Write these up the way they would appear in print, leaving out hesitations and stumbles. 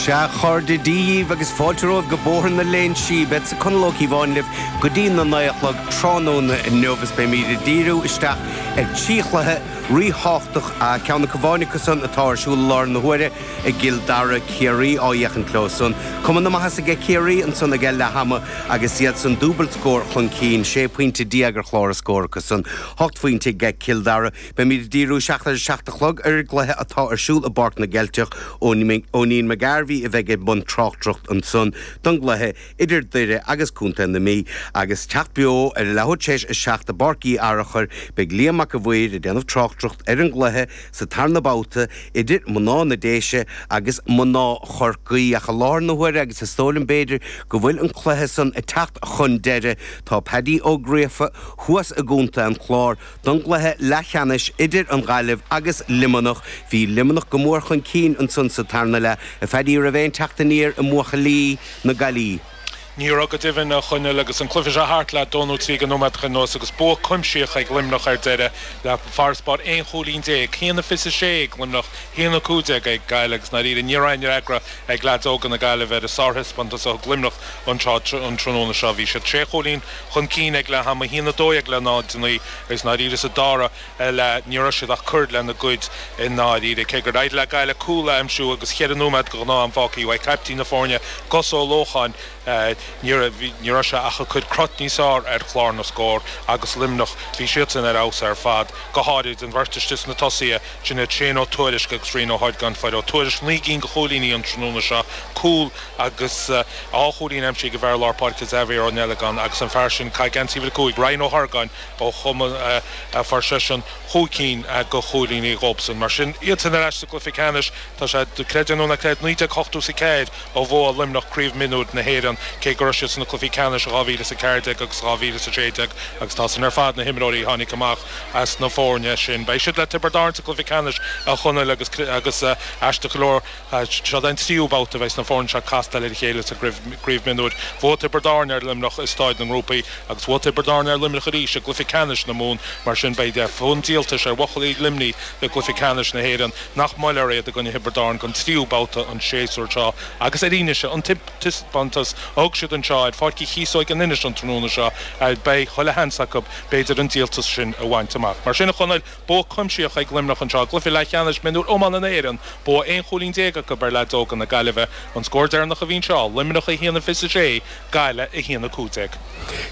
Sea, a chairde, Dia dhíbh agus fáilte romhaibh go Bóthar na Léinsí. Beadsa Conall Ó Cíobháin libh go dtí na naoi a chlog tráthnóna inniu is beimid ag díriú isteach ar thrí chluiche ríthábhachtach, ceann acu amháin acu san atá ar siúl i láthair na huaire i gCill Dara, Ciarraí á fhéachaint leo san. Cuma na maitheasa aige Ciarraí ansan ag leath ama agus iad san dúbailt scór chun cinn, 16 pointe ar chlár a scór acu san, 8 phointe aige Cill Dara. Beimid ag díriú isteach ar a 7 a chlog ar an gcluiche atá ar siúl i bPáirc na gCeilteach. Eoinín McGarvey a bheidh i mbun tráchtaireacht ansan don gcluiche idir Doire agus Contae na Mí. Agus teacht beo ar a leathuair tar éis a 7 i bPáirc Uí Fhearchair beidh Liam Mac a' Mhaoir ag déanamh tráchtaireacht ar an gcluiche sa tarna babhta idir mná na Déise agus mná Chorcaí. Ach i láthair na huaire agus is dóigh liom b'fhéidir go bhfuil an cluiche san ag teacht chun deiridh tá Paddy Ó Gríofa thuas i gContae an Chláir Don gcluiche leathcheannais idir an Ghaillimh agus Luimneach, bhí Luimneach go mór chun cinn ansan sa tarna leath. A Phaddy, raibh aon teacht aniar i mbuachaillí na Gaillí? Ní raibh go deimhin, a Chonaill, agus an cluiche seo thart le dó nó trí de nóiméadacha anuas agus bua cuimsitheach ag Luimneach ar deireadh le farasbarr 11 chúilín, 1-26 ag Luimneach, 1-15 ag Gaillimh agus i ndáiríre ní raibh aon fhreagra ag leaids óga na Gaillimhe ar an sárthaispeántas a thug Luimneach anseo an tráthnóna seo. Bhí siad sé chúilín chun cinn ag leath ama, 1-12 le 0-9, agus i ndáiríre sa dara leath ní raibh siad ach cur lena gcuid i ndáiríre. Cé gur éirigh le Gaillimh cúl a aimsiú agus cheithre nóiméad de ghnáth-am fágtha uaidh caiptín na foirne, Gus Ó Lócháin, ní raibh sé ach ag cur crot níos fearr ar chlár na scór agus Luimneach, bhí siadsan ar fheabhas ar fad, go háirid an bheirt istigh sna tosaithe, sin iad Shane Ó Tuairisg agus Rian Ó hArgáin. Fuair Ó Tuairisg 9 gcinn de chúilíní an tráthnóna seo, cúl agus dhá chúilín aimsithe ag an bhfear lár páirce Xavier Ó Neileagáin agus an fear sin ag caitheamh geansaí uimhir 5, Ryan Ó hArgáin ó chumann fuair seisean chúig cinn de chúilíní dhóibhsean. Mar sin, iadsan ar ais sa gcluiche ceannais. Tá sé, creid é nó ná creid, 1984 ó bhuaigh Luimneach Craobh Mionúir na hÉireann, cé go raibh siad sna cluichí ceannais i 2014 agus 2016 agus tá san ar fad na himreoirí a tháinig amach as na foirne sin. Beidh siad le Tiobraid Árann sa gcluiche ceannais, a Chonaill, agus agus aisteach go leor, Seo an tríú babhta a bheidh na foirne seo ag castáil ar a chéile sa gCraobh Mionúir. Bhuaigh Tiobraid Árann ar Luimneach i Stáid na nGrúpaí agus bhuaigh Tiobraid Árann ar Luimneach arís i gcluiche ceannais na Mumhan. Mar sin beidh fonn díoltais ar bhuachaillí Luimnigh i gcluiche ceannais na hÉireann nach mbuailfear iad i gcoinne Thiobraid Árann don tríú babhta an séasúr seo agus ar fhianaise an taispeántas a thug siad anseo ar Pháirc Uí Chíosóig in Inis an tráthnóna seo beidh chuile sheans acu b'fhéidir an díoltas sin a bhaint amach. Mar sin a Chonaill, Bua cuimsitheach ag Luimneach anseo i gcluiche leathcheannais mionúir iomána na hÉireann. Bua 11 chúilín acu ar leaids óga na Gaillimhe. An scór deireanach a bhí anseo, Luimneach 1-26, Gaillimh 1-15.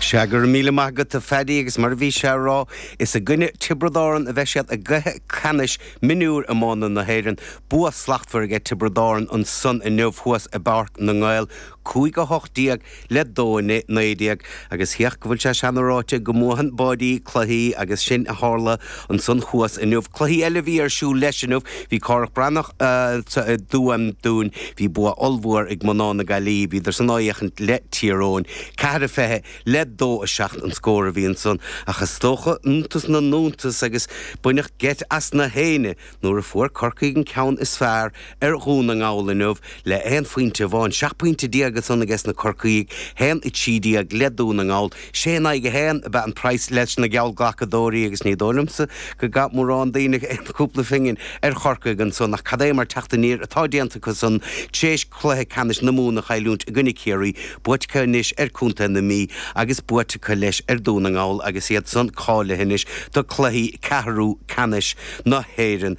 Sea, go raibh míle maith agat a Phaddy agus mar a bhí sé a rá, is i gcoinne Tiobraid Árann a bheidh siad i gcluiche ceannais mionúir iomána na hÉireann. Bua slachtmhar aige Tiobraid Árann ansan inniu thuas i bPáirc na nGael, 5-18 le 2-19 agus féach go bhfuil sé seana-ráite go mbuachann báidí cluichí agus sin a tharla ansan thuas inniu. Cluichí eile a bhí ar siúl leis inniu, bhí Cárthach Breathnach i dTuaim Dúin, bhí bua ollmhór ag mná na Gaillí, bhíodar san á fhéachaint le Tír Eoghain, 4-20 le 2-7 an scór a bhí ansan ach is dócha iontas na n-iontas agus baineadh geit as na héinne nuair a fuair Corcaigh an ceann is fearr ar Dhún na nGall inniu le aon phointe amháin, 17 pointe ansan aige sna Corcaígh, 1-13 le Dún na nGall. Sé in aghaidh a haon ab ea an praghas leis na geallghlacadóirí agus ní dóigh liomsa go gcaith mórán daoine aon chúpla phingin ar Chorcaigh ansan ach cad é mar teacht aniar atá déanta acu san tréis cluiche ceannais na Mumhan a chailliúint i gcoinne Ciarraí, buaite acu anois ar Contae na Mí agus buaite acu leis ar Dún na nGall agus iad san cáilithe anois do cluichí ceathrú ceannais na hÉireann.